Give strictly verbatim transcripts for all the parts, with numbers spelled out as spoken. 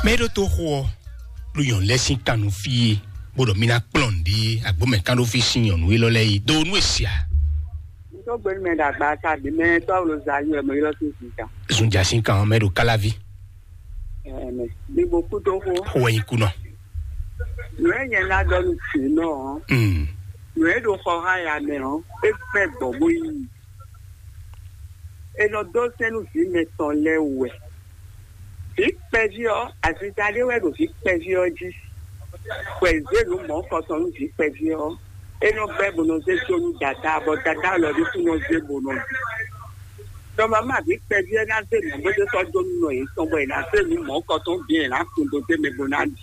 Mɛ e ɖo to xo ɔ́ ɖo nyɔ̌nu lɛ́ɛ sín kan nú fí é, bó ɖɔ mí ná kplɔ́n nǔɖé agbǒmɛ kán ɖó fí sín nyɔ̌nu élɔ́ lɛ́ɛ é dó nú e sia. Ntɔ́ gbɛ́nú mɛ ɖagba ta ɖě mɛ tɔ́ lo za yɔ mɛ ylɔ́ sín zǐnkan. Zunja sín kan ɔ́ mɛ ɖo káláví. Ɛmɛ, ní mo kú tó xó. Xó wɛ nyí kú nɔ. Nǔ e nyɛ ná ɖɔ nú jǐ nɔ ɔ́, Mm. Nǔ e ɖo xɔ xá ya mɛ ɔ́, é gbɛ́ gbɔ̌ bó yí. È nɔ dó sɛ́n nú vǐ mɛtɔn lɛ́ɛ wɛ. Vǐ kpɛví ɔ́, azinza ɖé wɛ ɖo vǐ kpɛví ɔ́ jí. Bɔ è zě nǔ mɔ̌kɔtɔn nú vǐ kpɛví ɔ́, é nɔ bɛ́ bó nɔ zé dó nú dadá, bɔ dadá lɔ ɖésú nɔ zé bó nɔ ɖu. Dɔmama vǐ kpɛví ɔ́ ná zé nǔ bó zé sɔ́ dó nú nɔ yětɔn, bɔ è nǎ zé nǔ mɔ̌kɔtɔn bǐ è nǎ kun dó dó mɛ bó ná ɖi.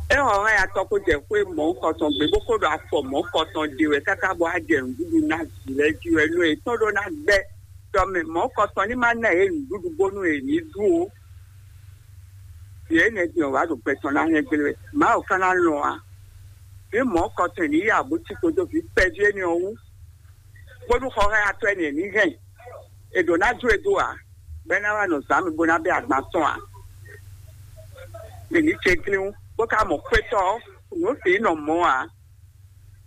É xɔ hɛn atɔ kó jɛ xwé mɔ̌kɔtɔn gbé bó kó ɖo afɔ mɔ̌kɔtɔn ɖe wɛ káká bɔ á jɛ nǔɖuɖu ná vǐ lɛ́ɛ jí wɛ nú yětɔn ɖó ná gbɛ́. Tɔ mɛ mɔ̌kɔtɔn ní má ná yě nǔɖuɖu bónú yě ní ɖu ó. Yě nɛ́ din ɔ́ wá ɖo gbɛ tɔn ná hɛn gbé wɛ. Mawu ka ná lɔn a? Vǐ mɔ̌kɔtɔn ní yí abú cí kpódó vǐ kpɛví énɛ́ ɔ́ wú, bónú xɔxɛ́yatɔ́ énɛ́ ní hɛn. È ɖǒ ná jó e dó ǎ, bɔ é ná wá nɔ zǎn mi bó ná bɛ́ agban tɔn ǎ. Mǐ ní céglín bó ka mɔ xwétɔ́ ɔ́, nǔ sǐ nɔ mɔ̌ ǎ.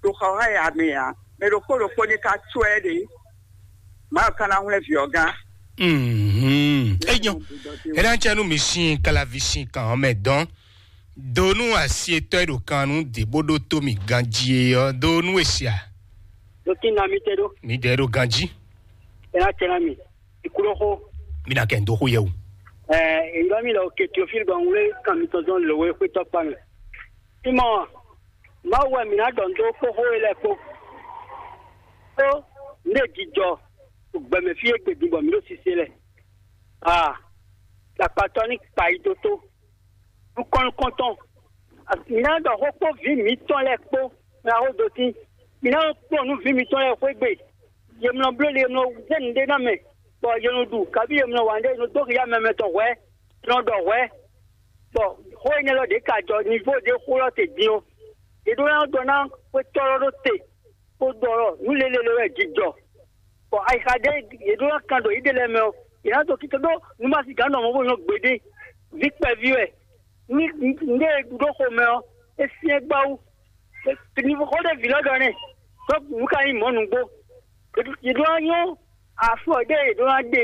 Ɖo xɔxɛ́ya mɛ ǎ, mɛ ɖokpó ɖokpó ní ka có ɛ ɖe. Mawu ka ná hwlɛ́n vǐ ɔ́ gán. Mhm. Enyɔ, é ná cɛ nú mi sín kalavi sín kan ɔ́ mɛ dɔn. Do nú asi etɔ́ e ɖo kan nú dě bó ɖótó mì ganjí é ɔ́, do nú e sia. Ɖo kí ná mi tɛ ɖó. Mi dɛ ɖo ganjí. É ná cɛ ná mi. Ikúɖóxó. Mi ná kɛ ń dó xó yɛ o. Ɛɛ, èyí bá mi lɔ ke Teofil gbɔn wlé kan mitɔn zɔn lǒwe xwétɔ́ kpa mɛ. Simɔ, Mawu wɛ mǐ ná ɖɔ nǔ dó kpó xó e lɛ́ɛ kpó. Ó, nǔ e jijɔ ɖo gbɛmɛ fí e gbe din bɔ mǐ ɖo sise lɛ. Aa, ɖakpatɔ́ ní kpa yi dó tó. Nukɔn nukɔntɔn, mǐ ná ɖɔ xó kpó vǐ mǐtɔn lɛ́ɛ kpó, mǐ ná xó dó tín. Mǐ ná kplɔ́n nú vǐ mǐtɔn lɛ́ɛ xwé gbe. Yě mlɔ bló le, yě mlɔ zé nǔɖé ná mɛ, bɔ yě nɔ ɖu, kabí yě mlɔ wǎn ɖé, yě nɔ dó xi yá mɛ mɛtɔn hwɛ̌, yě nɔ ɖɔ hwɛ̌. Bɔ xó énɛ́ lɔ ɖě ka jɔ nivo ɖé xó lɔ te din ɔ́, yě ɖó ná ɖɔ ná xwétɔ́ lɔ ɖó te, bó ɖɔ ɖɔ nǔ lélele wɛ jijɔ. Bɔ ayixa ɖé yě ɖó ná kan ɖo yěɖée lɛ́ɛ mɛ ɔ́, yě ná dó kíké ɖó nǔmasigǎn nɔ mɔ̌ bó nyɔ́ gbeɖé. Vǐ kpɛví wɛ, ní ní e ɖu ɖó xomɛ ɔ́, é syɛ́n gbáwú. Ní xó ɖé vǐ lɔ ɖɔ nɛ́, ɖó nǔ ka nyí mɔ̌ nǔgbó. Yě ɖó ná nyɔ́ afɔ ɖé yě ɖó ná ɖe.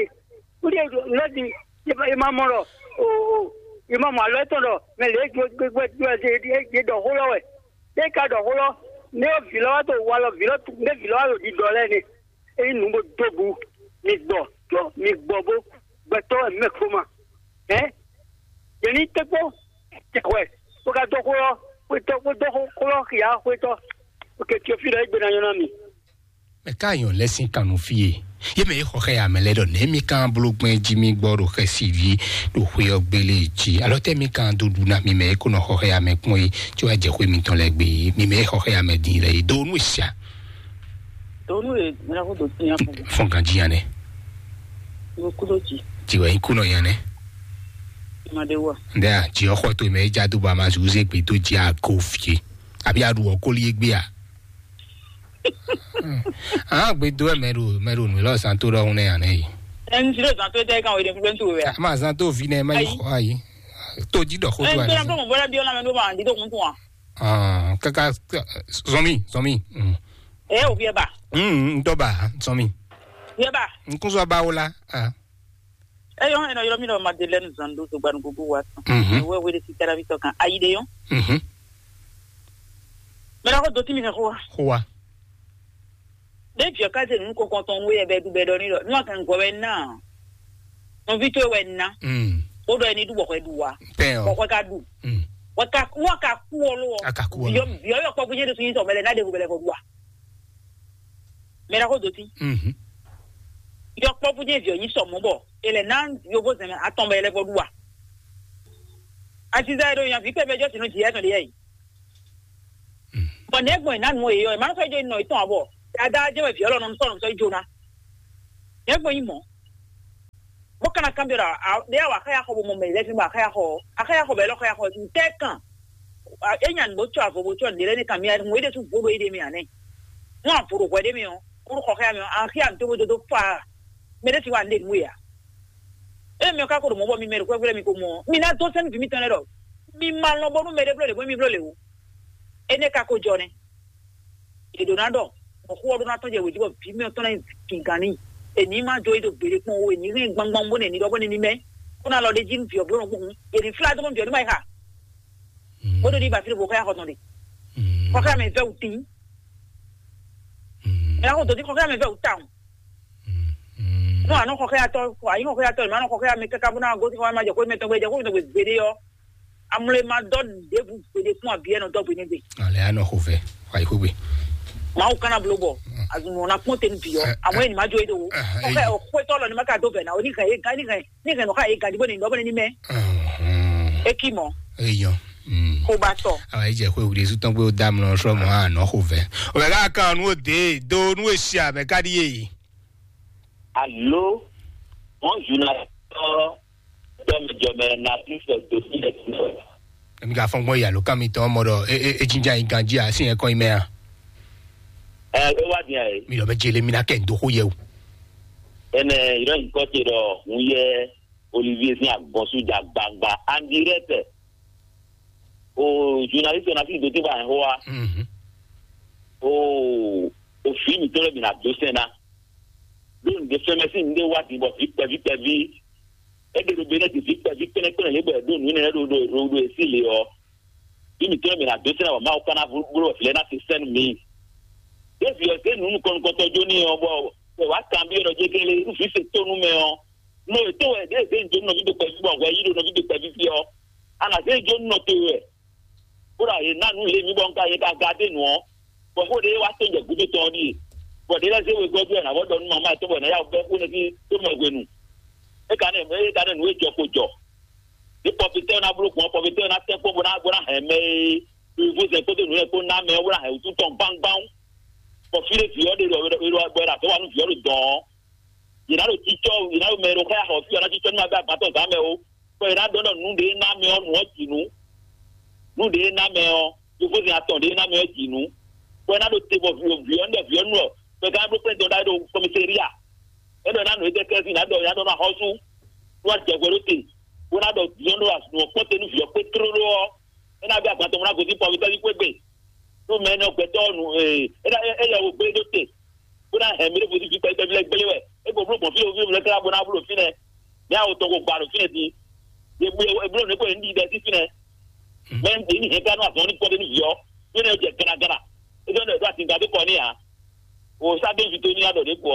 Kúɖé lɔ din, yě ma mɔ ɖɔ, o, yě ma mɔ alɔ étɔn ɖɔ mɛ lě gbɛgbɛgbɛ yě ɖɔ xó lɔ wɛ. Ɖé ka ɖɔ xó lɔ, nɛ́ ɔ́ vǐ lɔ wá ɖo walɔ vǐ lɔ, nɛ́ vǐ lɔ wá ɖo ɖiɖɔ lɛ́ɛ nɛ́. Ényí nǔ bó dó bu, mi gbɔ, tó mi gbɔ bó gbɛtɔ́ wɛ mɛ kó ma. Hɛ̌? Yě ní tɛ́ kpó jɛ hwɛ, bó ka dó xó lɔ, xwétɔ́, bó dó xó lɔ xia xwétɔ́, bó ke Teofílu ɔ́, é gbe ná nyɔ́ ná mi. Mɛ ka nyɔ lɛ sín kan nú fí e? Yé mɛ e xɔ xɛ amɛ lɛ ɖɔ nɛ mi kan bló gbɛn jí mi gbɔ ɖo xɛsi ví ɖo xwé ɔ́ gbélé jí. Alɔ tɛ mi kan dó ɖu ná mi mɛ e kó nɔ xɔ xɛ amɛ kpɔn é, tí wàá jɛ xwé mitɔn lɛ gbé é. Mi mɛ e xɔ xɛ amɛ din lɛ é dó nú sia. Donu e mira ko do tiɲa fún. Fɔn kan jí yan nɛ. Mo kudo ji. Tí wàá kú nɔ yan nɛ. Ma de wa. Ndɛ a jí ɔxɔ to mɛ e já dó ba ma zu zé gbé dó jí a ko fie. Àbí a ɖu ɔkóli e gbé a. Hàn gbé dó ɛ mɛ ɖo mɛ ɖo nǔ lɔ zan tó ɖɔhun nɛ anɛ yi. Ɛn ti ɖo zan tó tɛ kan o de fúnfún tó wɛ. A ma zan tó vi nɛ ma yi xɔ ayi. Tó jí ɖɔ xó tó anɛ. Ɛn tó mɔ bɔlá bí ɔlá mɛ ló ma di tó kun tún wa. Kaka zɔmi zɔmi. Ɛ o viɛ ba. N dɔ ba zɔmi. Viɛ ba. N kun sɔ ba o la. Eyɔn ɛnɔ yɔrɔ mi lɔ Madeleine Zando to gbanu gugu wa tɔn. Wɛ wele si tara vitɔ kan ayi de yɔn. Mɛ la ko do ti mi fɛ xo wa. Xo wa. Ɖe viɔ ka se nu ko kɔntɔn nu yɛ bɛ du bɛ dɔ ni dɔ nu a kan gɔ wɛ na. Nɔvi to wɛ na. O dɔ ni du bɔ xɔ du wa. Bɔ xɔ ka du. Wɔ ka wɔ ka ku ɔ lo. A ka ku ɔ lo. Viɔ viɔ yɔ kpɔ kunye de sun yi sɔ mɛ lɛ na de ko bɛ lɛ ko du wa. Mɛ la ko do ti. Yɔ kpɔ kunye viɔ nyi sɔ mɔ bɔ e lɛ na yovo zɛmɛ atɔn bɛ lɛ ko du wa. Asiza yɛ do yan vi pɛ bɛ jɔ sinu ji yɛ tɔn de yɛ yi. Bɔn nɛgbɔn ina nu eyi ɔ, emanu sɔ ijo inɔ itɔn abɔ. Dada jɛ wɛ viɔ lɔ nɔ sɔ nɔ sɔ ijo na. Nɛgbɔn yi mɔ. Bó kana kan bi la, de awa akaya xɔ bo mɔ mɛ lɛ fi ma akaya xɔ, akaya xɔ bɛ lɔ akaya xɔ sin tɛ kan. E nya nu bo tsɔ avɔ bo tsɔ de lɛ ne kan mi ayi ŋun e de tu vo do e de mi anɛ. Ŋun avo do hwɛ de mi ɔ, kuru xɔ xɛ mi ɔ, axi ami to bo dodo fa. Mɛ de ti wa ne nu ya. Ée mi ɔ́ ka ko ɖo mɔ̌ bɔ mi mɛ ɖo xwɛ́xwɛ́ mi ko mɔ ɔ́, mi ná dó sɛ́n nǔ vǐ mitɔn lɛ́ɛ ɖɔ mi ma lɔn bónú mɛɖé bló lě bó mi bló lě o. Énɛ́ ka ko jɔ nɛ́. È ɖǒ ná ɖɔ mɔ̌ xú ɔ́ ɖó ná tɔ́n jɛ wějí bɔ vǐ mitɔn ná nyi gǐngán n'i. È ní ma jó yi ɖo gbeɖé kpɔ́n o, è ní hɛn gbangban bó nɛ ní ɖɔ bó nɛ ní mɛ. Bó ná lɔ ɖ'é jí nú vǐ ɔ́ bló nɔ kpɔ́n hǔn. È ní flá dó mɔ vǐ ɔ́ ní ma yi xa. Bó ɖo ní ba fí ɖo xɔxɔ́ya xɔ tɔn ɖe. Xɔxɔ́ya mɛ vɛ́ wǔ tín. Mɛ ná xɔ dǒ dín xɔxɔ́ya mɛ vɛ́ wǔ tawun. Nú ànú xɔxɔ́yatɔ́, àyín xɔxɔ́yatɔ́, è má nɔ xɔxɔ́ya mɛ káká bó ná gosín xɔxɔ́ya má jɛ xó mɛ tɔn gbé, jɛ xó mɛ tɔn gbé gbeɖé ɔ́, amlé ma dɔ́ ɖěbǔ gbeɖé kún abiyɛ́ nɔ dɔ́ gbe nɛ́ gbe. Ale anɔ xo vɛ, wa yi xo gbe. Mawu kana blo bɔ azun ɔ́ ná kpɔ́n te nú bǐ ɔ́, amɔ̌ é ní má jó é ɖo. Xɔxɔ́ya ɔ́ xwétɔ́ lɔ ní má ka dó vɛ̌ ná ó ní hɛn é gán ní hɛn ní hɛn nɔ xá é gán jí bó ní nɔ bó ní ní mɛ. É kí mɔ. Eyɔn. Kó ba tɔ. Awa yi jɛ xwe wuli su tɔn gbé o dam nɔ sɔ mɔ anɔ xo vɛ. O bɛ ka kan nu o de do nu e si a bɛ ka di ye. Alo, wọn zuna tɔ tɔ mi jɔ mɛ na ti sɔ do si lɛ ti nɔ. Emi ka fɔn gbɔn yalo kan mi tɔn mɔ dɔ e e e jinja yi ganji a si yẹn kɔn yi mɛ a. Ɛ e wa diẹ ye. Mi lɔ bɛ jele mi na kɛ ndo xo yɛ o. Ɛnɛ yɔrɔ yi kɔ te dɔ hun yɛ Olivier sin agbɔnsu ja gbangba andirɛtɛ. O journaliste na fi dote ba hɛn hoa. Mhm. O o fi mi tɔlɛ mi na do sɛn na. Ɖo nɖe fɛn mɛ sín nɖe wá din bɔ vi kpɛví kpɛví. E ɖe ɖo be ne di vi kpɛví kpɛnɛkpɛnɛ lě bɔ e ɖo nǔ nɛnɛ ɖo ɖo ɖo ɖo esi le ɔ. Fi mi tɔlɛ mi na do sɛn na bɔ Mawu kana bló vǐ lɛ na se sɛn mi. Ɖe vi ɔ se nǔ nukɔn nukɔntɔ jó ní ɔ bɔ wɛ wá kan bi ɔ ɖɔ jégélé nú vi se tó nú mɛ ɔ. Nɔ ètò wɛ ɖe zé njo nɔvi ɖe kpɛví bɔ hwɛ yí ɖo nɔvi ɖe kpɛví fi ɔ. Ana zé njo nɔ to wɛ. Kódà yě ná nǔ lě mì bɔ un ka yě ka ga dé nǔ ɔ́, bɔ xó ɖé wá tó jɛ gúdo tɔn ɔ́ ɖíe, bɔ ɖě lɛ́ɛ zé wegɔ́ dó ɛ nǎ vɔ ɖɔ nú mamá ɛ tɔn bɔ nǎ yá bɛ́ xó nɛ́ sí tó mɛ hwenu. É ka nɛ é ka nɛ nǔ e jɔ ko jɔ. Ní pɔfitɛ́ ɔ́ ná bló gbɔn, pɔfitɛ́ ɔ́ ná tɛ́ kpó bó ná bó ná hɛn mɛ e vozɛn kpódó nǔ lɛ́ɛ kpó ná mɛ ɔ́ bó ná hɛn wǔtu tɔn gbáŋgbáŋ. Bɔ fí ɖé vǐ ɔ́ ɖe ɖɔ bɔ è ɖo azɔ̌ wa nú vǐ ɔ́ ɖo dɔ̌n ɔ́, yě ná ɖo cícɔ́, yě ná ɖo mɛ e ɖo xá axɔ fí ɔ́ ná cícɔ́ ní ma bɛ́ agban tɔn zǎn mɛ ó. Bɔ è nǎ ɖɔ ɖɔ nǔ ɖě ná mɛ ɔ́ nǔ ɔ́ ji nǔ. Nǔ ɖě ná mɛ ɔ́, yovózɛn atɔn ɖě ná mɛ ɔ́ ji nǔ. Bɔ é ná ɖo te bɔ vǐ vǐ ɔ́ ní ɖɔ vǐ ɔ́ nú ɔ, bɔ é ka bló kpɛ́n dɔn ɖ'ayǐ ɖo kɔmɛsɛ́ria. É ɖɔ é ná nǔ étɛ́ kɛ́ sín ná ɖɔ é ná ɖɔ ná xɔ́sú. Nú a jɛ hwɛ ɖó te, bó ná ɖɔ vǐ ɔ́ nú nǔ ɔ́ kpɔ́n te nú vǐ ɔ́ kpé tlóló ɔ́, é ná bɛ́ agban tɔn bó ná gosín pɔ́ ɔ́ gbé gbe. Nú mɛ énɛ́ ɔ́ gbɛtɔ́ ɔ́ nu, ee, é ná é yɛ wo gbé ɖó te, bó ná hɛn mì ɖěvo sín fí kpɛví lɛ́ɛ gblé wɛ. É ko bló gbɔn fí ɖo fí ɖo lɛ́ɛ tlá bó ná bló ɖo fínɛ́. Mɛ awo tɔn ko gba ɖo fínɛ́ din. È bló è bló nǔ ko è ní ɖi ɖɛ sín fínɛ́. Mɛ è ní hɛn ká nú azɔn ní kpɔ́ ɖé nú vǐ ɔ́. Fínɛ́ jɛ ganagana. É jɔ ɖɔ è ɖó atinga dó kɔ n'i ǎ. O sá dó vi tó ní aɖɔ ɖě kpɔ.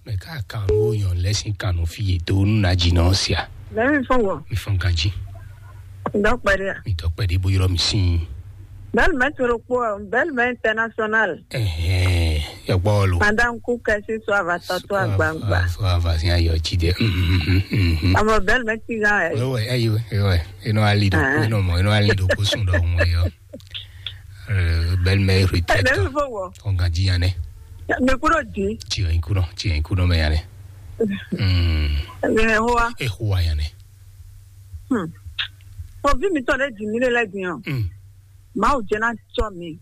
Mɛ ká kan ló yàn lẹ́sìn kanu fi yě dó nú nàjì náà sia. Lẹ́yìn fún wọn, mi fún ganjí, ìdọ́pẹ̀dẹ́ à. Mi tọ́ pẹ̀lú bó yọrọ mi sí. Bẹ́ẹ̀ni mẹ́ toro kpó ẹ̀, bẹ́ẹ̀ni mẹ́ international. Ẹ̀hẹ́n, yọgbọ́ lo. Madame Kúkẹ́ sí sọ àbàtà tó àgbàǹgbà. Sọ àbàtà sí ayọ̀ jí dẹ. Àmọ́ bẹ́ẹ̀ni mẹ́ ti gán ẹ̀. Wẹ́wẹ́, ẹ yí wẹ́, wẹ́wẹ́, inú ali dò, inú mọ̀, inú ali dò kó sùn dọ̀ ọmọ yọ. Belle-mère retraite. Lẹ́yìn fún wọn. Ọ̀gá jí yan dẹ. Mi kúrò dì. Tiɲɛ in kúrò, tiɲɛ in kúrò mɛ yan dɛ. Ɛɛ hoa. E hoa yan dɛ. Ɔ vi mi tɔ ɖe dzi mi ɖe lɛ din ɔ. Mawu jɛ na tsɔ mi.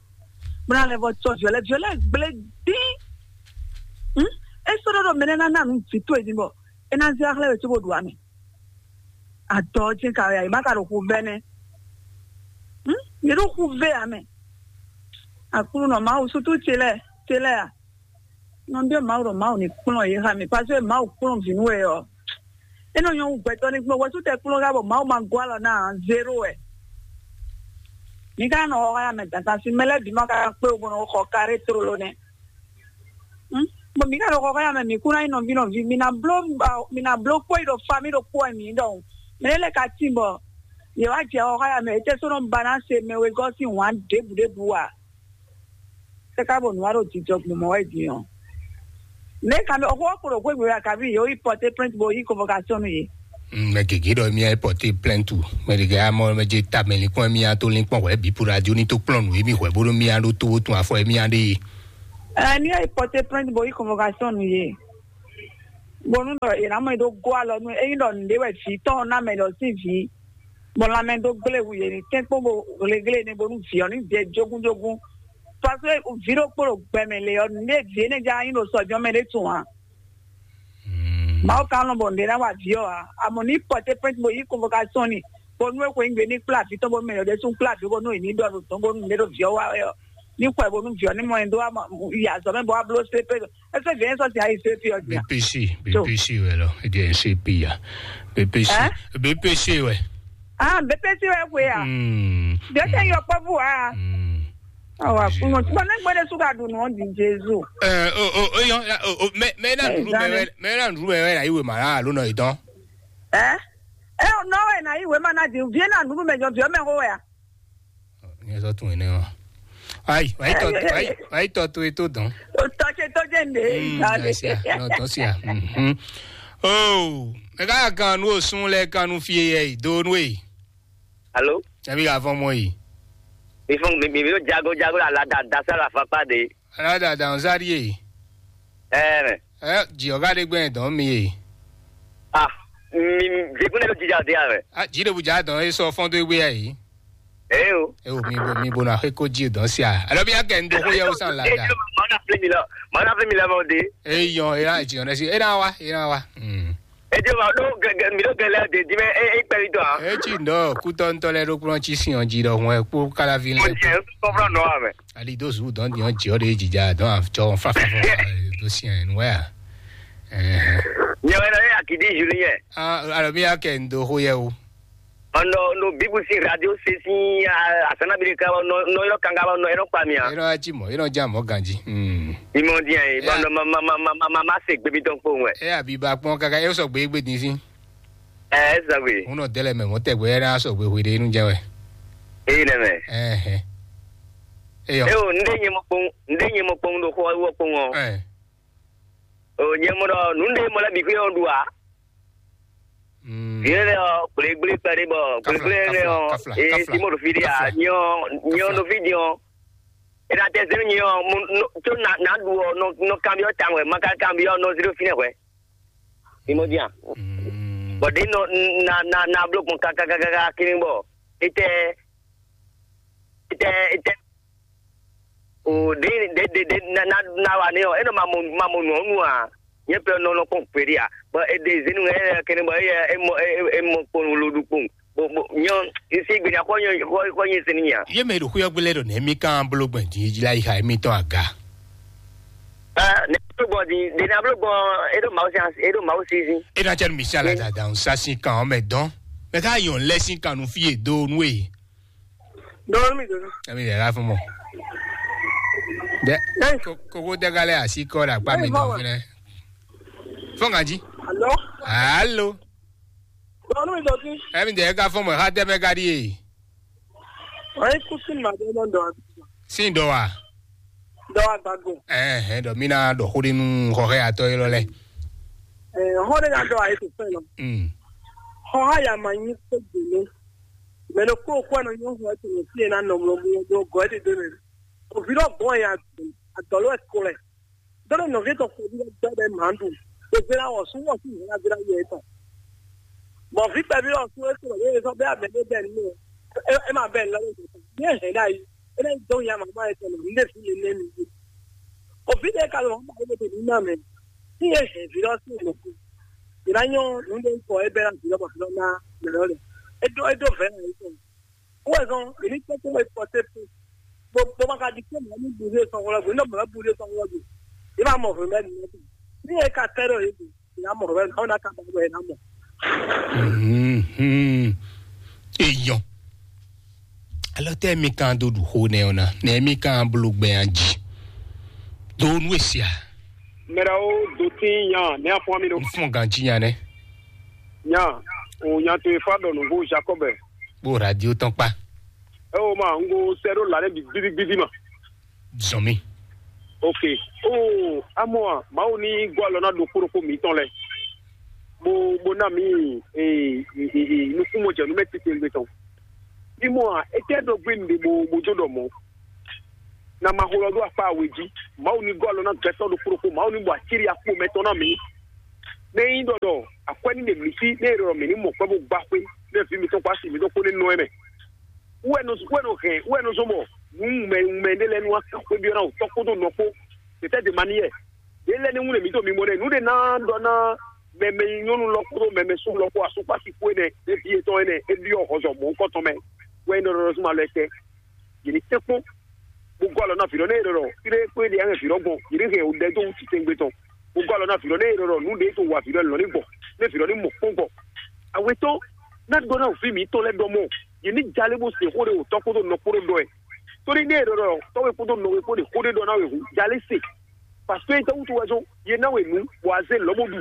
Bena lɛ vɔ tsɔ viɔlɛ viɔlɛ gblẽ dín. E sɔ ɖɔ ɖɔ mɛ nɛ na na nu vi to edin bɔ e na zɛ axlɛ wɛ tso bo ɖu amɛ. Adɔ jɛ ka ya e ma ka ɖo xu vɛ nɛ. Yě ɖo xu vɛ amɛ. Aklúnɔ Mawu sutu ce lɛ ce lɛ a. Nɔ ɖe Mawu ɖɔ Mawu ní kplɔ́n yě xa mi, parce que Mawu kplɔ́n vǐ nú we ɔ́. É nɔ nyɔ́ wú gbɛtɔ́ ní kplɔ́n, wɛ̌sú tɛ kplɔ́n xá bɔ Mawu ma gɔ́ alɔ ná ǎ, zéro wɛ. Mi ka nɔ xɔ xá ya mɛ dandan sín mɛ lɛ́ɛ bǐ ma ka kpé wú bó nɔ xɔ karé tlóló nɛ́. Bɔ mi ka nɔ xɔ xá ya mɛ, mi kú ná nyí nɔví nɔví, mi ná bló mi ná bló kpó yi ɖo fa mi ɖo kpó wɛ mi ɖɔhun. Mɛ lɛ́ɛ ka tín bɔ yě wá jɛ xɔ xá ya mɛ, étɛ́ sɔ́ nɔ ba ná se mɛ wegɔ́ sín wǎn ɖěbǔ ɖěbǔ a? Sɛ ka bɔ nua ɖo jijɔ gbɔn mɔ wɛ din ɔ. Ne ka mi ɔkɔ kpo ɖo xwé gbe ya kabi yo yi porter plainte bo yi convocation nu ye. Mɛ gege ɖɔ mía yi porter plainte, mɛ ɖe ga mɔ mɛ je ta mɛ linkpɔn mía to linkpɔn hwɛ bi pour radio ni to kplɔn nu emi hwɛ bolo mía ɖo to tun afɔ mía ɖe ye. Ɛ ni yi porter plainte bo yi convocation nu ye. Bonu ɖɔ yena mɔ yi ɖo go alɔ nu eyi ɖɔ nɖe wɛ vi tɔn na mɛ ɖɔ si vi. Bɔ lanmɛ dó gblé wu yě ní tɛ́nkpɔ́n bo hleglé ní bónú vǐ ɔ́ ní jɛ jógúnjógún. Parce que vǐ ɖokpó ɖo gbɛmɛ lě ɔ́, nǔɖé vǐ énɛ́ já nyí ɖo sɔjɔ́mɛ ɖé tun ǎ. Mawu ka nɔ bɔ nǔɖé ná wa vǐ ɔ́ ǎ. Amɔ ní pɔtɛ́ pɛ́nti bó yí convocation ni, bónú é xweyígbe ní kplá vǐ tɔn bónú mɛ lɛ́ɛ ɖésú kplá vǐ bónú è ní ɖɔ nǔ tɔn bónú mɛ ɖo vǐ ɔ́ wa wɛ ɔ́, ní xwɛ bónú vǐ ɔ́ ní mɔ ɛ dó yi azɔ̌ mɛ bó wá bló C P. Ɛsɛ vǐ ɔ́ nyí sɔ́ sin ayi C P ɔ́ jí a? B P C, So. B P C wɛ lɔ, é jẹ́ C P ya. B P C, Hein? B P C wɛ. Ah, B P C wɛ xwe a? Hmm. Ɖe tɛ yɔ kpɔ́ bú a? Hmm. Awa kúnɔ. Bɔn ne gbɛdɛ su ka ɖu nɔ di Jesu. Ɛ, o, o, o, yɔ, o, o, mɛ, mɛ na Ɛ, nɖu mɛ zan wɛ, mɛ na nɖu mɛ wɛ na yi wema la alo nɔ yi dɔn. Ɛ? Ɛ, nɔ wɛ na yi wema na di, vie na nɖu mɛ jɔ, vie mɛ xo wɛ a? Ní ẹ sɔ tún yín náà. Ayi, wàá yí tọ́, wàá yí, wàá yí tọ́ tó e tó dán. O tɔ ce tó jẹ́ ndé. Mm, ìgbà rẹ̀. Àṣìá, náà tọ́ sí à. Mhm. Oh, ẹ ká kan nú òsún lẹ kan nú fi yẹ ìdónú e. Alo? Ẹbí ka fọ́n mọ́ yìí. Mi fún mi mi mi ló jago jago la la da da sá la fa pa de. Aládàá dàn sáré yìí. Ẹ mẹ. Ẹ jì ọ̀gá dé gbẹ̀yìn dán mi yìí. Ah, mi mi jekun ne ló jija de a mẹ. Ah, jì dé bùjá dán e sọ fọ́n tó gbé yà yìí. Ẹ o. Ẹ o mi bo mi bo na xé kó jì dán sí a. Alọ́ bí a kẹ́ ń do xó yẹ o sàn la Ẹ da. Jẹ́ màá na fi mi lọ, màá na fi mi lọ mọ de. Ẹ yàn ẹ yà jì ọ̀nà sí ẹ náà wá ẹ náà wá. Hmm. Ẹ jẹ́ màá ló gẹ̀gẹ̀ mi ló gẹ̀lẹ́ de di mẹ ẹ ẹ pẹ̀lú tọ̀. Ẹ jì ń dọ̀ kútọ́ ń tọ́lẹ̀ ló kúrọ́ tí sìn ọ̀ jì dọ̀ hùn ẹ kó kálávi Mo lẹ. Jẹ́ kọ́fúrọ́ nọ wa mẹ. Ali do zu dɔn diɔ jɛ ɔ de jija dɔn a jɔ fa fa fa do si ɛ nuwɛ a. Ɛhɛn. Nyɛ wɛ nɔ ye akidi Julien. Ah, alors mi y'a kɛ n do ho yɛ o. Ɔnɔ no bibu si radio se si asana bi de ka nɔ nɔ yɔrɔ kanga nɔ yɔrɔ kpa mi a. Yɔrɔ ati mɔ yɔrɔ ja mɔ ganji. Hmm. Imɔ diɛ ye bɔn nɔ ma ma ma ma ma ma ma se gbebi dɔn kpo wɛ. E abi ba kpɔn kaka e sɔ gbe gbe din si. Ɛ ɛ zagbe. Ŋun nɔ dɛlɛ mɛ mɔ tɛgbɛ yɛ n'a sɔ gbe hwe de nu jɛ wɛ. Eyi nɛ mɛ. Ɛhɛn. Eyɔ. E o nde nyɛ mɔ kpɔn nde nyɛ mɔ kpɔn do xɔ wɔ kpɔn ɔ. Ɛ. O nyɛ mɔ dɔ nu nde mɔ lɛ bi xwe ɔ du a. Mm. Yɛ lɛ ɔ gble gble kpɛ de bɔ gble gble lɛ ɔ e ti mɔ do fi de a nyɔ nyɔ do fi di ɔ. E na tɛ zɛn nyɛ ɔ mo tso na na du ɔ nɔ nɔ kanbi ɔ tawɛ ma ka kanbi ɔ nɔ zero fi nɛ hwɛ. Imɔdia. Mm. Bɔ de nɔ na na na blo gbɔn kakakaka kini bɔ etɛ etɛ etɛ o de de de de na na na wa ne ɔ enɔ ma mo ma mo nɔ nu a nye pe nɔ nɔ kpɔn peri a bɔ e de zenu ɛ kene bɔ e e mɔ e e mɔ kpɔn lo du kpɔn bo bo nyɔ isi gbenya kɔ nyɔ kɔ kɔ nyi sini nya. Ye mɛ ɖo xuyɔ gbélé ɖo nɛ mi kan bolo gbɛn di ji la yi ha mi tɔn aga. Ɛ ne blo gbɔn di de na blo gbɔn e ɖo mawu si e ɖo mawu si si. E na cɛ nu mi si ala dada n sa si kan ɔmɛ dɔn mɛ ka yɔn lɛ si kan nu fi ye do nu e. Dɔɔni mi dɔɔni. Ɛmi yɛ la fún mɔ. Dɛ Ɛ. Ko- koko dɛga lɛ asi kɔ ɖe akpa mi Ɛ, dɔn bɔbɔ. Fi nɛ. Fɔn kan ji. Alo. Alo. Dɔɔni mi dɔɔni. Ɛmi dɛ ka fɔn mɔ ha dɛ mɛ ka di ye. Ɔyɛ kusin ma dɛ nɔ dɔɔni. Sin dɔ wa. Dɔ wa gbago. Ɛhɛn dɔ mi na dɔ xo de nu xɔxɛ atɔ yi lɔ lɛ. Ɛ hɔn de na dɔ ayi to fɛn lɔ. Mm. Xɔ ha ya ma nyi ko gbele. Mɛ ɖokpó kú ɛnɔ nyɔ́ hɔn ɛtò nɔ fí e ná nɔ mlɔ mlɔ dó gɔ́ ɛ́ ɖe ɖó nɛ. Òvi lɔ gbɔn ya adɔ̌ló ɛ kɔ lɛ. Dɔ́ ɖo nɔví tɔn kpɔví lɔ gbɛ ɖɛ mǎ ɖu. Ògbé ná wɔ sú wɔ sú ìhɛn ná gbé ná yɛ tɔn. Bɔ vǐ kpɛví lɔ sú é kplɔ yé sɔ́ bɛ́ abɛ ɖé bɛ́ nínú. É é má bɛ́ lɔ ní hɛn ɖ'ayǐ. É ná dó ya màmá yɛ tɔn ní ɖe fí mi nɛ mi. Òví ɖé ka lɔ mɔ é ɖe ní ná mɛ. Ní é hɛn vǐ lɔ sí ìmọ̀ kú. Ìná nyɔ́ nǔ ɖé kɔ é bɛ́ ná vǐ lɔ bɔ vǐ lɔ ná mɛ lɔ lɛ. É dó é dó vɛ̌ ná yé tɔn. Wezɔn, èmi kpɛkpɛ wɛ pɔtɛ pe. Bo bo ma ka di kpɛ mɛ ni bu de sɔn wlɔ gbe, ne mɛ bu de sɔn wlɔ gbe. Ye ma mɔ hwɛ mɛ ni. Ni e ka tɛ ɖo ye gbe, ya mɔ hwɛ, aw na ka ba wɛ na mɔ. Mhm. Eyɔn. Alɔ tɛ mi kan do ɖu xo nɛ ɔna, nɛ mi kan blo gbɛ an ji. Do nu esia. Mɛɖewo do tín nya ne afɔ mi ɖo. N fún ganji nya nɛ. Nya, o nya to efa ɖɔ nǔgbó Jacob. Kpó radio tɔn kpá. Ɛ o ma, n ko sɛ ɖo la ɖe bi gbidi gbidi ma. Zɔn mi. Ok. O amɔ a, Mawu ní gɔ alɔ ná ɖo kpóɖokpó mǐtɔn lɛ. Bó bó ná mǐ e e e e nukúnmɔ jɛ nú mɛ titewungbe tɔn. Ní mɔ a, é tɛ ɖo gbé nǔɖé bó bó jó ɖɔ mɔ̌. Na ma xo lɔ ɖó akpá we jí. Mawu ní gɔ́ alɔ ná gbɛtɔ́ ɖokpó ɖokpó. Mawu ní bɔ acírí akpo mɛtɔn ná mǐ. Nɛ nyí ɖɔ ɖɔ akwɛ́ ní ɖe mǐ sí, nɛ è ɖɔ mǐ ní mɔ kwɛ́ bó gbá xwé, nɛ vǐ mitɔn kpó asi mitɔn kpó ní nɔ ɛ mɛ. Wú ɛ nɔ wú ɛ nɔ hɛn, wú ɛ nɔ zɔ́n bɔ nǔ wunmɛ wunmɛ ɖé lɛ́ɛ nú wá kan xwé byɔ́ ná wǔtɔ́ kpódó nɔ kpó. Tɛtɛ́ de ma ní yɛ. Ɖě lɛ́ɛ ní wú ɖe mǐtɔn mi mɔ ɖɛ, nǔ ɖe ná ɖɔ ná Mɛmɛ nyɔnu lɔ kpódó mɛmɛ sún lɔ kpó asúkpasi kú énɛ́, éví yětɔn énɛ́, é byɔ́ xɔzɔ mɔ̌hunkɔtɔn mɛ, wɛ nyí ɖɔɖɔɖɔzúnmalɔ́ étɛ́. Yě ní tɛ́nkpɔ́n, bó gɔ́ alɔ ná vǐ ɖɔ nɛ́ e ɖɔ ɖɔ fí ɖé kpó é ɖe ǎ hɛn vǐ ɖɔ gbɔn, yě ní hɛn wǔ ɖɛ dó wǔ titewungbe tɔn, bó gɔ́ alɔ ná vǐ ɖɔ nɛ́ e ɖɔ ɖɔ nǔ ɖě e to wa vǐ ɖɔ lɔ̌ ní gbɔ, nɛ́ vǐ ɖɔ ní mɔ kpɔ́n gbɔ. Awetɔ́ ná ɖɔ ná wǔ fí mǐtɔn lɛ́ɛ ɖɔ mɔ, yě ní jalé bó se xó ɖé wǒtɔ́ kpódó nɔ kpódó ɖɔ ɛ. Tóní nɛ́ e ɖɔ ɖɔ tɔ́we kpódó nɔwe kpó ɖe xó ɖé ɖɔ ná wě hǔn, jalé se. Parce que é tɛ́ wútu wɛ zɔ́n yě ná we nǔ, bɔ azé lɔ̌ bó ɖu.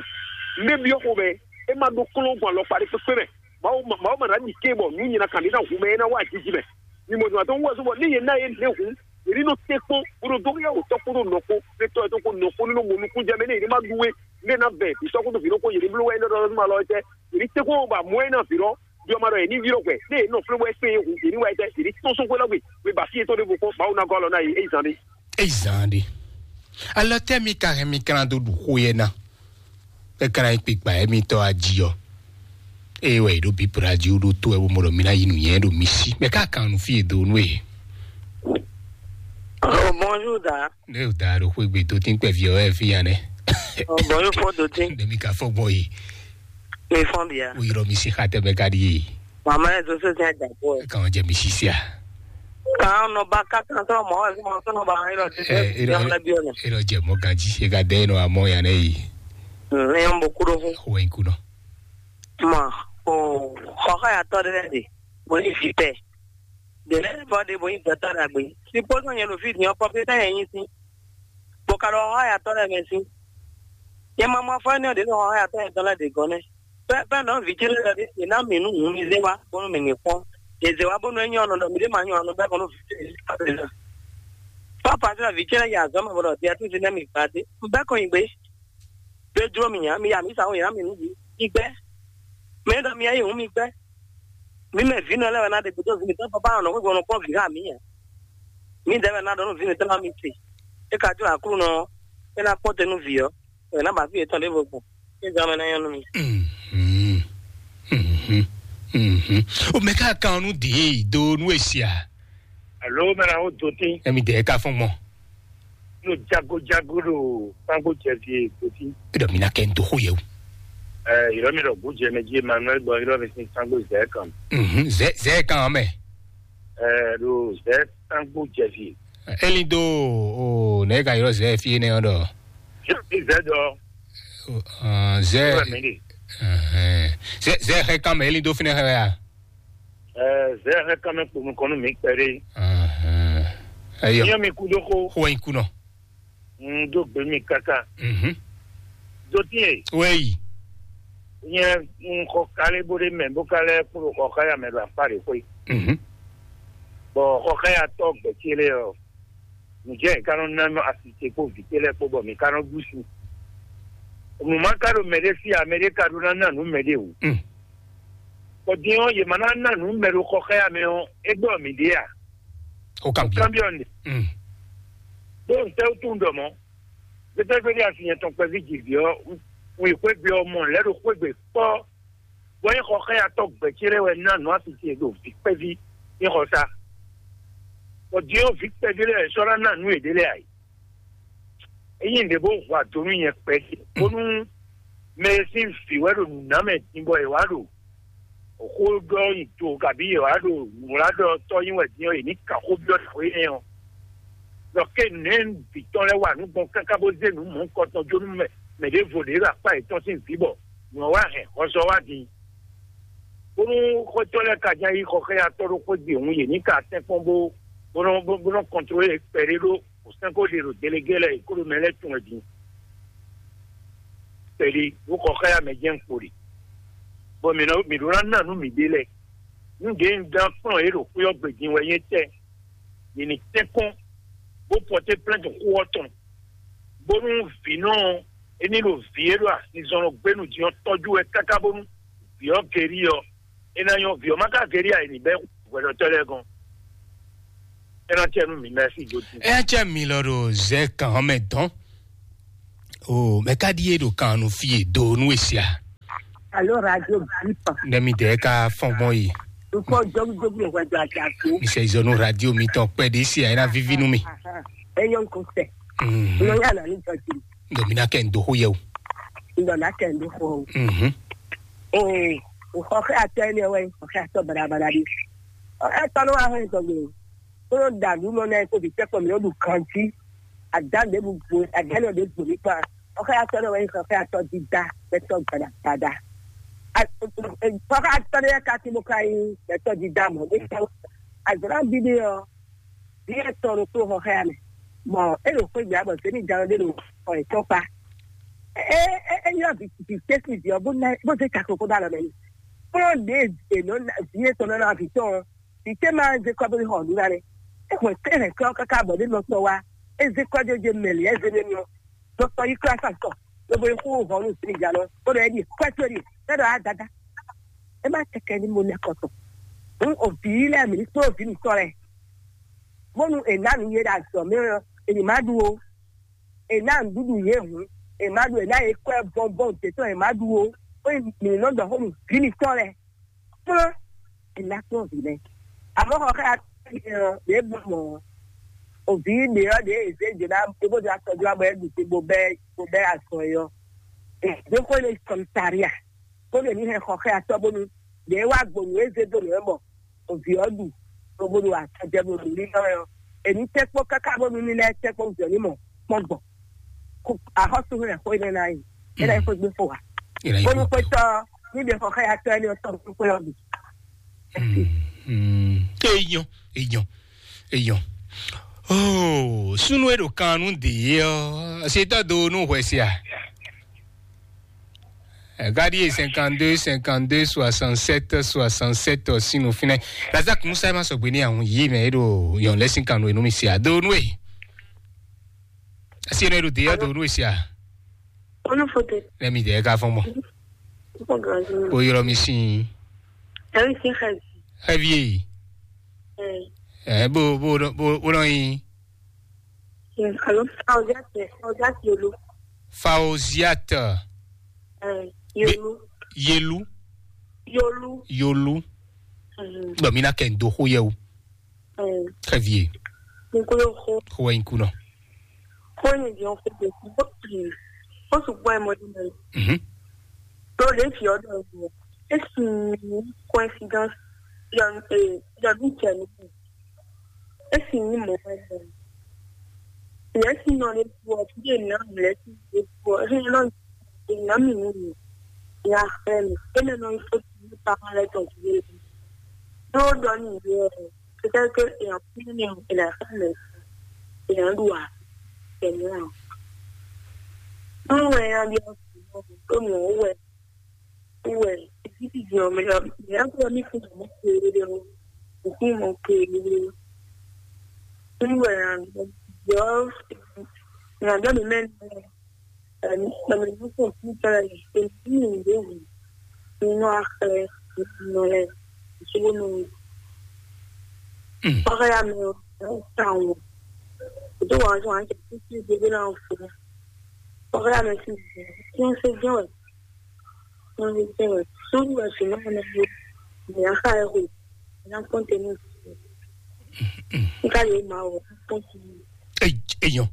Nɛ́ byɔ́ xomɛ, é má ɖó kplɔ́n gbɔn alɔkpa ɖé kpékpé mɛ. Mawu ma- Mawu ma ná ɖi ké bɔ nǔ nyina kan ɖé ná hu mɛ é ná wá jiji mɛ. Mi mɔ zɔn atɔ́ wú wɛ zɔ́n bɔ ní yě ná yě lě hǔn, yě ní nɔ tɛ́ kpɔ́n bó ɖo dó yá wǒtɔ́ kpódó nɔ kpó, fé tɔ́ ɛ tó kpó nɔ kpó ní nɔ mɔ nukún jɛ mɛ ní yě ní má ɖu wé, ní é ná vɛ vǐ sɔ́ kpódó vǐ ɖokpó yě ní bló wɛ é nɔ ɖɔ ɔ́ má lɔ ɛ tɛ́. Yě ní tɛ́ kpɔ́n bɔ amɔ̌ é ná vǐ ɖɔ, ɖyɔ́ má ɖɔ yě ní vǐ ɖɔ hwɛ, ní yě nɔ flé wɛ kpé yě hu yě ní wɛ tɛ́, yě ní tɔ́n sɔ́ xwé lɔ gbe, wé ba fí yětɔn ɖěvo kpɔ́n, Mawu ná gɔ́ alɔ ná yě, é yi zán ɖé. Eyi zan ɖe. Alɔ tɛ́ mi ka hɛn mi kan ɖó ɖu xó yɛ ná? É ka ná nyí kpikpa émítɔn ají ɔ́. Ée wɛ è ɖo bǐ radio ɖó tó wɛ bó mɔ ɖɔ mi ná yi nǔnywɛ́ ɖo mi sí. Mɛ ka kan nu fí e do nú e. Oh, bonjour, da. Ne o da ɖo xwé gbe do tín kpɛví ɔ́ wɛ fí ya nɛ. Oh, bonjour, fo do tín. Ne mi ka fɔ gbɔ yi. Mi fɔn bia. O yɔrɔ mi si xa tɛ mɛ ka ɖi ye. Mama yɛ do so tɛ da bɔ. Kan jɛ mi si sia. Kan nɔ ba ka kan sɔ mɔ wɛ sɔ nɔ ba yɔrɔ ti. Ɛ, yɔrɔ la bi ɔnɛ. Yɔrɔ jɛ mɔ ganji e ka dɛ nɔ amɔ ya nɛ yi. Ne yɔn bo kuɖo fún. Wɛ in kunɔ. Ma o xɔxɔ ya tɔ ɖe de. Mo yi fi tɛ. De lɛ bɔ de bo yi dɔtɔ ɖagbe. Si pɔsɔ nyɛ ɖo fi diɔ kɔpi ta yɛ nyi si. Bo ka ɖo xɔxɔ ya tɔ ɖe mɛ si. Yɛ ma ma fɔ ne ɖe xɔxɔ ya tɔ yɛ tɔ lɛ de gɔnɛ. Pɛ pɛ nɔ vi ce lɛ ɖe si na mi nu ŋu mi zé wa bɔnu mi ni kpɔn. Yɛ zé wa bɔnu enyɔ nɔ ɖɔ mi ɖe ma nyɔ anɔ bɛ kɔnɔ vi ce lɛ. Papa sɛ vi ce lɛ ya zɔ ma bɔ ɖɔ dia tu si ne mi gba de. Bɛ kɔ yi gbe. Be jlo mi nya mi ya mi sa wo ya mi nu bi. Mi gbɛ. Mɛ ɖɔ mi ya yi hu mi gbɛ. Mi mɛ vi nɔ lɛ wɛ na ɖe gbedo vi mi tɔ papa nɔ ko gbɔnɔ kpɔn vi ha mi nya. Mi dɛ wɛ na ɖɔ nu vi mi tɔ na mi se. E ka jlo aklu nɔ. E na kpɔn te nu vi ɔ. Wɛ na ba fi etɔn ɖe vo gbɔn. E jɔ mɛ na yɔ nu mi. Mhm. Mhm. Mhm. O mɛ ka kan nu de do nu esia. Alo mɛ na wo do tin. Emi de ka fɔn mɔ. No jago jago ɖo kpango jɛvi e do tin. E dɔ mi na kɛ n do xo yɛ o. Ɛ yɔrɔ mi ɖɔ gbójɛ mɛ jí Emmanuel gbɔ yɔrɔ mi sin kpango zɛ kan. Mhm. Zɛ zɛ kan mɛ. Ɛ ɖo zɛ kpango jɛvi. Eli do o ne ka yɔrɔ zɛ fi ne ɔdɔ. Zɛ zɛ dɔ. Zɛ. Zɛ zɛ xɛ kan mɛ eli do fi ne xɛ ya. Ɛɛ, zɛ hɛn kan mɛ kponu kɔnu mi kpɛɖe. Ɛyɔ. Nyɛ mi kudo ko. Xo yin kunɔ. N do gbe mi kaka. Mhm. Do tiɛ. Wɛyi. Nyɛ n xɔ kale bo ɖe mɛ bo ka lɛ kpo xɔ kaya mɛ ɖo akpa ɖe xwe. Mhm. Bɔ xɔ kaya tɔ gbɛtsi lɛ ɔ. Nǔjɛ ka nɔ ná nɔ asi ce kpo vǐ ce lɛ kpo bɔ mi ka nɔ ɖu si. Nǔ ma ka ɖo mɛ ɖe sí a, mɛ ɖe ka ɖo ná ná nǔ mɛ ɖe o. Mm. Bɔ din ɔ́, yě ma ná ná nǔ mɛ ɖo xɔ xá ya mɛ ɔ́, é gbɔ mǐ ɖe a? O kan biɔ. Kan biɔ ne. Mm. Ɖó ntɛ́ wútu un ɖɔ mɔ̌? Gbɛtɛ́gbɛ́ ɖé asi nyɛ tɔn kpɛví jǐví ɔ́, un yi xwé gbe ɔ́ mɔ lɛ̌ ɖo xwé gbe kpɔ́. Bɔ é xɔ xá ya tɔ́ gbɛ̌ ce lɛ́ɛ wɛ ná nǔ asi ce ɖo vǐ kpɛví é xɔ sá. Bɔ din ɔ́, vǐ kpɛví lɛ́ɛ sɔ́ ná ná nǔ yěɖée lɛ́ɛ ǎ. Ényí nǔɖé bó hu ado nú nyɛ kpɛɖé, bónú mɛ e sín vǐ wɛ ɖo nǔ ná mɛ din bɔ è wǎ ɖo xó ɖɔ nyi do, kabí è wǎ ɖo nǔwlá ɖɔ tɔ́ nyi wɛ din ɔ́, è ní kan xó byɔ́ xwé énɛ́ ɔ́. Ɖɔ ké nɛ̌ bǐ tɔn lɛ́ɛ wa nǔ gbɔn káká bó zé nǔ mɔ̌hunkɔtɔn jó nú mɛ mɛ ɖěvo ɖě ɖo akpá yětɔn sín vǐ bɔ nǔ ɔ́ wá hɛn hɔzɔ wá din. Bónú xwétɔ́ lɛ́ɛ ka ján yí xɔ xá ya tɔ́ ɖó xwé gbe hǔn, yě ní ka tɛ́nkpɔ́n bó bó nɔ bó nɔ kɔntlóle kpɛɖé ɖó. Sɛ́n ko ɖe ɖo delegé lɛ́ɛ, kó ɖo mɛ lɛ́ɛ tun wɛ din. Kpɛɖé bó xɔ xá ya mɛ jɛ́n kpo ɖe. Bɔ mǐ nɔ mǐ ɖó ná ná nǔ mǐɖée lɛ́ɛ. Nú ɖě un dán kplɔ́n yě ɖo xwé ɔ́ gbe din wɛ nyí étɛ́? Yě ní tɛ́nkpɔ́n, bó pɔté plɛ́ntu xó ɔ́ tɔn, bónú vǐ nɔ é ní ɖo vǐ e ɖo azinzɔnnɔ gbénu din ɔ́ tɔ́jú wɛ káká bónú vǐ ɔ́ gerí ɔ́, é ná nyɔ́. Vǐ ɔ́ má ka gerí ǎ, è ní bɛ́ hwɛɖɔtɔ́ lɛ́ɛ gɔ́n. É ná cɛ nú mǐ mɛ sí dó din. Eya cɛ mi lɔ ɖo zɛ kan mɛ dɔn. O mɛ ka ɖi e ɖo kan nu fi e do nu e sia. Alo radio bipa. Ne mi dɛ ka fɔn gbɔn yi. Ukɔ jogu jogu le hwɛ do ati ato. Mi sɛ izɔ nu radio mi tɔn kpɛ de sia ena vivi nu mi. Eyan ko sɛ. Mhm. Lo ya na ni jɔ ti. Ndo mi na kɛ ndo ho yɛ o. Un ɖɔ ná kɛ nǔ xo o. Mhm. Ee, xɔxɛ atɔ énɛ́ wɛ xɔxɛ atɔ baɖabaɖa ɖi. Xɔxɛ atɔ nɔ wá hɛn tɔgbe. Kó nɔ da nǔ nɔ nɛ kó bi tɛkɔ mi ɖu kanti. Ada ɖe bu bu ada nɔ ɖe bu mi kpa. Xɔxɛ atɔ nɔ wɛ xɔxɛ atɔ dida bɛ tɔ gbada gbada. Xɔxɛ atɔ ɖe ka ti bo ka yi bɛ tɔ dida mɔ ɖe tɔ. Azɔra bi ɖe ɔ. Vǐ etɔn ɖokpó xɔ xá mɛ, bɔ é ɖo xwé gbé bɔ zěmijǎwe ɖé ɖo xɔ yětɔn kpá. É é é nyɔ́ vǐ vǐ tɛ́ sín vǐ ɔ́ bó ná bó zé caklo kó ɖó alɔ mɛ n'i. Kplɔ́n ɖě è nɔ ná vǐ etɔn nɔ ná vǐ tɔn ɔ́, vǐ tɛ́ ma zé kɔ́ bó xɔ nǔ ná nɛ́. É xwɛ é hɛn kɔ́ káká bɔ ɖé nɔ tɔn wá, é zé kɔ́ jó je mɛ lě é zé nɛ́ nɔ. Dɔkítɔ yi kura sa tɔ, lobo yi xo hɔn nu sini ja lɔ, ko ɖɔ ɛdi kɔɛ to ɖi, ne ɖɔ adada. E ma tɛkɛ ni mo nɛ kɔtɔ. Hun ovi lɛ mi ni kpó ovi mi tɔ lɛ. Bonu e na nu ye ɖe azɔ mɛ ɔ, e ni ma ɖu o. E na nuɖuɖu ye hun, e ma ɖu e na ye kɔɛ bɔnbɔn de tɔ e ma ɖu o. Ko mi nɔ dɔ xo nu vi mi tɔ lɛ. Kplɔ́n, è nǎ kplɔ́n vǐ lɛ́ɛ. Amɔ̌ xɔ xá ɖě bɔ mɔ̌, o vǐ ɖě ɔ́ ɖě è zě jǒ ná é bó dó akɔjó ɔ́ bɔ é ɖu te bó bɛ́ bó bɛ́ azɔn é ɔ́. È dǒ xó énɛ́ commissariat bónú è ní hɛn xɔ xá atɔ́ bónú ɖě é wá gbɔn nǔ é zé dó nǔ é mɔ o vǐ ɔ́ ɖu bó bó ɖo atɔjɛ bó ɖo lílɔ́ ɛ ɔ́. È ní tɛ́ kpɔ́n káká bónú ní lɛ́ɛ tɛ́ kpɔ́n jɔ ní mɔ kpɔ́n gbɔn. Axɔ́súxwé wɛ xó énɛ́ ná yi. É ná yi xwé gbé fo ǎ. Bónú xwétɔ́ ní ɖe xɔ xá atɔ́ énɛ́ ɔ́ tɔn kpé ɔ́ bǐ. Eyɔn, eyɔn, eyɔn. Oh, súnú e ɖo kan nú dě ɔ́, setɔ́ do nú hwɛ sia. Gadi e cinquante-deux, cinquante-deux, soixante-sept, soixante-sept, sinu finɛ. Lazak Musa ma sɔgbe ní ahun yi mɛ e ɖo yɔn lɛ sin kan nú e nú mi sia. Do nú e. Asi ne ɖo dě ɔ́ do nú e sia. Onu fote. Lɛ mi dɛ ka fɔn mɔ. Ko gazi. Ko yɔrɔ mi sin. Ɛri sin xɛzi. Xɛvi e. Ɛ. Ɛ bo bo bo bo nɔ yin. Alo Faoziat Faoziat Yolu. Faoziat. Ɛ Yolu. Yelu. Yolu. Yolu. Bɔn mi na kɛ n do xo yɛ o. Très bien. Nkolo xo. Xo wɛ nyi kunɔ. Xo nyi di ɔn xo de xo ti. Xo sugbɔ ɛ mɔ di mɛ. Mhm. Do le fi ɔdɔ ɛ. E sin coincidence. Yɔ e yɔ bi cɛ ni. E sin ni mɔ ɛ. Yɛ sin nɔ le bu ɔ ti de na mlɛ ti de bu ɔ. E nɔ de na mi ni mi. Ya xɛ mi. E nɔ nɔ ifo ti ni pa ma lɛ tɔ ti de. Do dɔ ni yɛ. Peut-être que èèyàn kú nínú ìlà ìfẹ́ rẹ̀ èèyàn lù wá pẹ̀lú àwọn. Báwo ẹ á bí ọkùnrin náà tó mọ̀ ó wẹ̀ ó wẹ̀ títí di ọmọ ìyá ìyá tó ní fún ọmọ kéré o òkú ọmọ kéré o. Wíwẹ̀ ìrìnàjò ìrìnàjò mi mẹ́rin náà. Ɛɛ, mɛ mɛ nu ko fi tɛ le esi mi de wu mi nɔ axlɛ mi nɔ lɛ sugu nu. Ɔxɛ ya mɛ o ta wo. O do wa wa jɛ titi de de la o fo. Ɔxɛ ya mɛ si ti se jɛ wɛ. Ti se jɛ wɛ. Sugu wɛ si na na yo. Mi axa ɛ ho. Na kɔnte ni. Nka le ma o. Kɔnte ni. Eyɔn.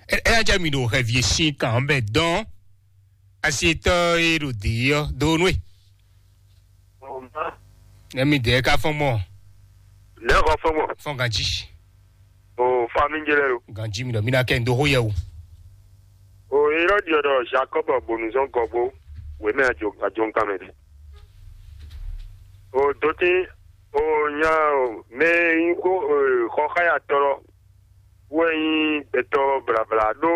Ɛ ɛ ajá mi ɖo xɛvi e sín kan ɔ́ bɛ dɔn. Asi etɔ́ e ɖo dě ɔ́ dó nú e. Nɛ mi dě ká fɔ́n mɔ. Nɛ xɔ fɔ́n mɔ. Fɔ́n ganjí. O fami jɛ lɛ lo. Ganjí mi ɖɔ mi ná kɛ n dó xó yɛ o. O Erɔdi ɔ́ ɖɔ Jacob bonu zɔn gɔgbo wěmɛ ajo ajo nkan mɛ ɖe. O doti o nya o mɛ yi ko xɔ xá ya tɔlɔ wɛ nyi gbɛtɔ blabla ɖó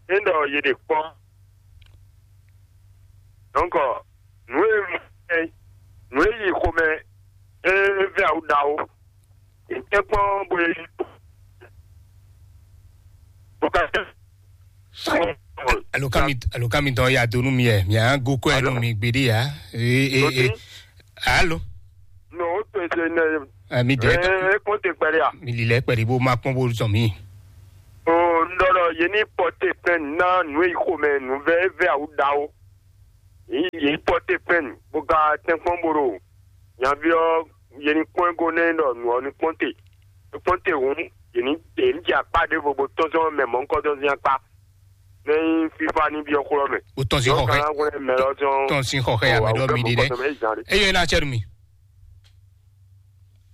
é ɖɔ yě ɖe kpɔ́. Donc nǔ e nǔ e yi xomɛ é vɛ awu ɖawo. È tɛ́ kpɔ́n bó e bó ka tɛ́. Alo kami alo kami tɔn ya do nú mi yɛ mi á gó kɔ ɛ nú mi gbeɖé ya. Ee ee ee. Alo. No o to ese ne. Ɛ mi dɛ. Ee kpɔn te kpɛlɛ ya. Mi lilɛ kpɛlɛ bó ma kpɔn bó zɔn mi. O n dɔ dɔ ye ni pɔte pɛn na nu yi xomɛ nu vɛ vɛ awu da o. Yi yi pɔte pɛn bó ka tɛn kpɔn bó ɖo. Nyavi ɔ ye ni kpɔn go ne dɔ nu ɔ ni kpɔn te. Kpɔn te hǔn ye ni ye ni jɛ akpa ɖe vovo tɔn sɔn mɛ mɔ nkɔ tɔn zin akpa. Ní fífá ní byɔ́ xlɔ́ mɛ. Ó tɔn sín xɔxɛ. Kana wɛrɛ mɛ lɔ jɔn. Tɔn sín xɔxɛ ya mɛ ɖɔ mi ɖi dɛ. Eye na cɛ mi.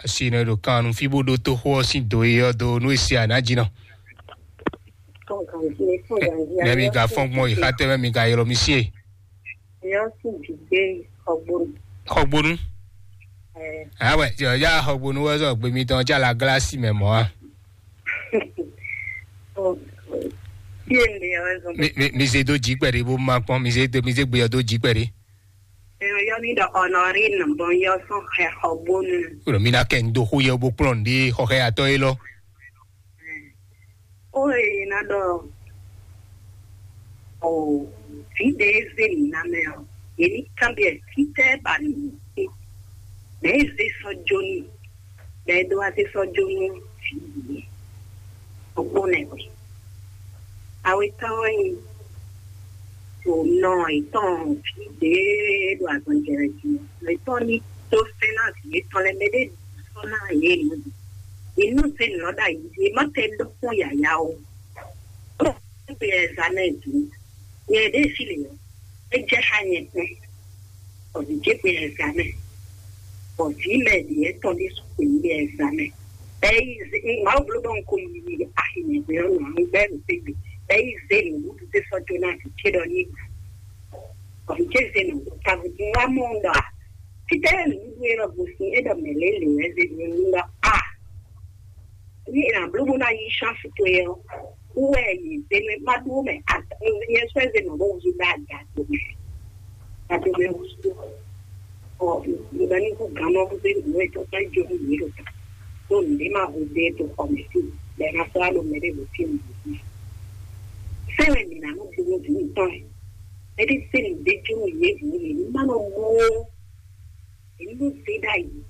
Asi ne ɖo kan nu fi bó ɖó tó xó ɔ sín do e ɔ do nú esi àná jí nɔ. Ne mi ga fɔn gbɔn yi xatɛ mɛ mi ga ylɔ mi sie. Yɔ sín dìde xɔgbónu. Xɔgbónu. Awɛ tí ọjà xɔgbónu wɛ sọ gbé mi tán ọjà la gíláàsì mɛ mọ́ a. Mi mi mi se dó jí pẹ̀lú bó ma kpɔn mi se dó mi se gbé yọ dó jí pẹ̀lú. Yɔ mi ɖɔ Honorine bɔn yɔ sɔn xɛ xɔgbónu. Wúlò mi ná kẹ́ ń dó xó yẹ bó kplɔ́n ní xɔxɛ atɔ́ é lɔ. Ó e ná ɖɔ o vǐ ɖe e zé mǐ ná mɛ ɔ́, yě ní kanbyɔ́ fítɛ́ ba mǐ ɖe. Mɛ̌ e zé sɔ́ jó n'i, bɔ é ɖó wá zé sɔ́ jó nú vǐ yě? Ɖokpó nɛ́ hwe. Awe tɔn wɛ nyí to nɔ yětɔn vǐ ɖě ɖo azɔn jɛ wɛ jí. Nɔ yětɔn ní dó sɛ́n ná vǐ yětɔn lɛ́ɛ mɛ ɖé sɔ́ ná yě nǔ. Yě nɔ zé nǔ ɔ́ ɖ'ayǐ jí, é má tɛ ɖó kpɔ́n yǎyá ó. Ó gbé ɛzamɛ jí. Nyɛ ɖě fí lě ɔ́, é jɛ xá nyɛ kpɛ́n. Bɔ vǐ ce gbé ɛzamɛ. Bɔ vǐ mɛ ɖě tɔn ɖésú kpé gbé ɛzamɛ. Bɛ́ yi zé Mawu bló bɔ un ko yi axi nyɛ gbé ɔ́ nɔ anu gbɛ́ ɖo tɛ́gbe. Bɛ́ yi zé nǔɖuɖu ce sɔ́ jó ná vǐ ce ɖɔ ní ɖu. Bɔ vǐ ce zé nǔɖuɖu taví dín wá mɔ un ɖɔ a? Fítɛ́ nǔɖuɖu e nɔ gosín é ɖɔ mɛ̌ lě lě wɛ zé ɖu nú ɖɔ a? Ní è nǎ bló bó ná yí chance towe ɔ́, wú wɛ yě zé nú ɛ má ɖó mɛ nyɛ sɔ́ ɛ zé nɔ bó wúzú ɖó aga dó mɛ. Aga dó mɛ wúzú. Ɔ, mi ba ní kú gán nɔ bó zé nǔ e tɔ́ ká jó nú yě ɖo ta. Tó nǔ ɖé má hu dé tó xɔ mɛ sí, bɔ ɛ ná sɔ́ wá ɖo mɛ ɖé wǒ sí nǔ. Sɛ́ wɛ mǐ ná nɔ dó nú vǐ mǐtɔn ɛ. Mɛ ɖé zé nǔ ɖé jó nú yě hǔn yě ní má nɔ mɔ ó. Èmi ló zé ɖ'ayǐ.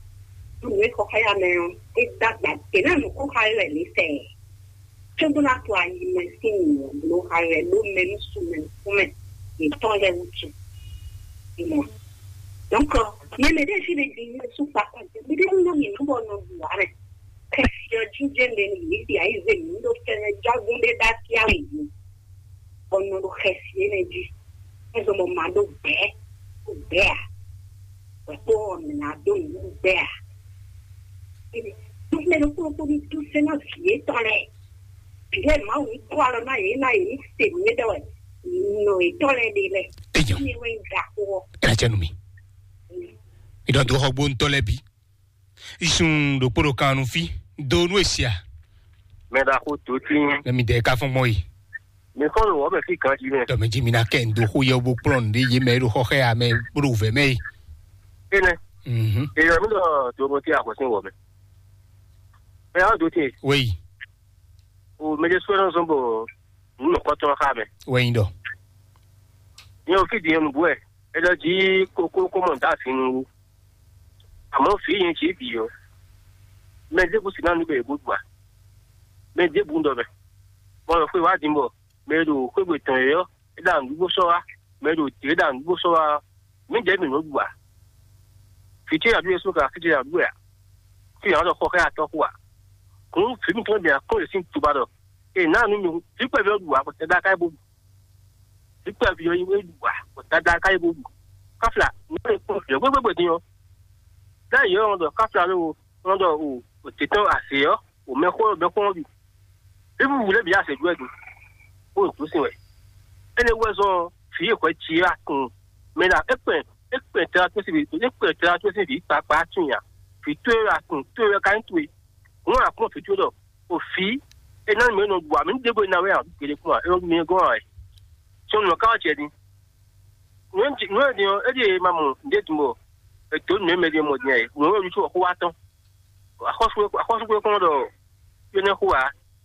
Nú nǔ e xɔ xá ya mɛ ɔ́, é dó agba. È nǎ nǔ xó xá we wɛ mǐ fɛ. Cóbó ná to ayi mɛ sín nǔ ɔ́, bló xá we wɛ ɖó mɛ nú su mɛ nukún mɛ yětɔn lɛ́ɛ wútu. Ìmọ̀. Donc, nyɛ mɛ ɖé fí ɖé ɖi nyɛ sú kpakpa jɛ. Mi ɖé nú mì nú bɔ nɔ ɖu ǎ mɛ. Kɛ́ fyɔ jínjɛ́n ɖé nú yě ɖi ayǐ zé mǐ ɖó fɛ́nɛ jágún ɖé ɖó akí awǐ jí. Bɔ un nɔ ɖo xɛsi énɛ́ jí. É zɔn bɔ ma ɖó gbɛ̌, ɖó gbɛ̌ ǎ. Bɔ kpó ɔ́, mǐ ná dó nǔɖuɖu gbɛ́ ǎ. Mɛ ɖokpó ɖokpó ní dó sɛ́ ná vǐ yětɔn lɛ́ɛ. Vǐ lɛ́ɛ Mawu ní kó alɔ ná yě ná yě ní se nǔ e ɖɔ wɛ nɔ yětɔn lɛ́ɛ ɖe lɛ́ɛ. Éyɔ. Ní wɛ nyí ɖaxó ɔ́. Ɛ jɛ nu mi. Mi ɖɔ dó xɔ gbóntɔ́ lɛ́ɛ bǐ. Isun ɖokpó ɖo kan nu fí. Do nú èsì a? Mɛ ɖaxó tó tín. Mɛ mi dɛ ká fɔn gbɔn yi. Mi kɔ nɔ wɔ mɛ fí kan jí mɛ. Dɔmɛ jí mi ná kɛ ndo xó yɛ bó kplɔn nde yé mɛ ɖo xɔxɛ a mɛ bó ɖo vɛ mɛ yi. Ene. Mhm. Èèyàn mi lọ tó mo tí àkọsí wọ mẹ. Ẹ á dó tiẹ̀. Wéyi. O mɛ jẹ sọ náà sọ bọ nínú kọtọ ká mẹ. Wéyi dɔ. Ìyẹn ò fi dìyẹn nù bú ẹ. Ẹ lọ jí kókó kó mọ̀ dá sínú. Àmọ́ fìí yẹn ṣe é bì ọ́. Mɛ ɖěbǔ sì ná nǔ bɛ è bó ɖu ǎ. Mɛ ɖěbǔ ń ɖɔ mɛ. Mɔ lɔ xwé wá dín bɔ mɛ e ɖo xwégbe tɔn é ɔ́, é ɖo nǔɖuɖu sɔ́ wá. Mɛ e ɖo dě é ɖo nǔɖuɖu sɔ́ wá ɔ́, mǐdɛɛ mǐ nǒ ɖu ǎ. Fǐ ce nyi aɖú Jezu ka fí ce nyi aɖú wɛ ǎ. Fí nyi aɖɔ xɔ xá atɔ́ xú ǎ. Hǔn vǐ mitɔn bǐ ná kɔn yě sín tuba ɖɔ è nǎ nú mi hǔn vǐ kpɛví ɔ́ ɖu ǎ, bɔ tɛgbɛ ka é bó ɖu. Vǐ kpɛví ɔ́ yi wé ɖu ǎ, bɔ tɛgbɛ ka é bó ɖu. Káfíà nǔ e kpɔ́n vǐ ɔ́ gbégbé din ɔ́, ɖ'ayǐ ɔ́, wọ́n ɖɔ káfíà lówo, wọ́n ɖɔ o, o tě tɔn azě ɔ́, o mɛxó mɛxó ɔ́ ɖu. Fífúfú lɛ́ɛ bǐ azě ɖu wɛ ɖu, bó ɖo gǔ sin wɛ. Énɛ́ wú wɛ zɔ́n ɔ́, vǐ e hwɛ ji é wá tunwun. Mɛ ɖa é kpɛn é kpɛn tlala tó sín vǐ é kpɛn tlala tó sín vǐ kpakpá tunwun nya. Vǐ towe wɛ a tunwun, towe wɛ ka nyí towe. Hǔn a kplɔ́n vǐ towe ɖɔ o vǐ é ná mǐ nɔ ɖu ǎ, mǐ ɖěvo ná wɛ ǎ, gěɖé kún ǎ, é mi gɔ́n ǎ wɛ. Sɔ́ nǔ ɔ́ ká wá jɛ din. Nǔ e din ɔ́, é ɖíe ma mɔ nǔɖé din bɔ è dǒ nǔ e mɛ ɖé mɔ din ǎ é. Nǔ e wɛ ɖu xó wá tɔn. Axɔ́súgbé kɔn ɖɔ énɛ́ xó ǎ.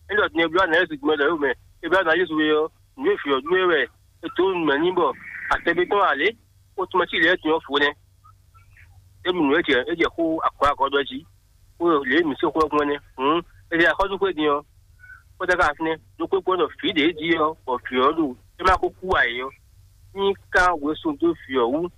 É ɖɔ din Ebláwúmu ná Jezu gbɔn ɖɔ é mɛ. Ebláwúmu ná Jezu é ɔ́, nǔ e vǐ ɔ́ ɖu é wɛ è dǒ nǔ mɛ n'i bɔ atɛgbé tɔn ǎ lě. Xó tɔn mɛ cí lě e din ɔ́ fǒ nɛ́. É ɖu nǔ e jɛ é jɛ xó agɔ̌ agɔ̌ ɖɔ jí. Xó lě e mǐ se xó ɔ́ gbɔn nɛ́. Hǔn è ɖe axɔ́súgbé din ɔ́, xó tɛ́ ká fínɛ́. Ɖokpó gbɔn ɖɔ vǐ ɖě jí ɔ́, bɔ vǐ ɔ́ ɖo é má ko kú ǎ é ɔ́, ní ká wezun dó vǐ ɔ́ wú.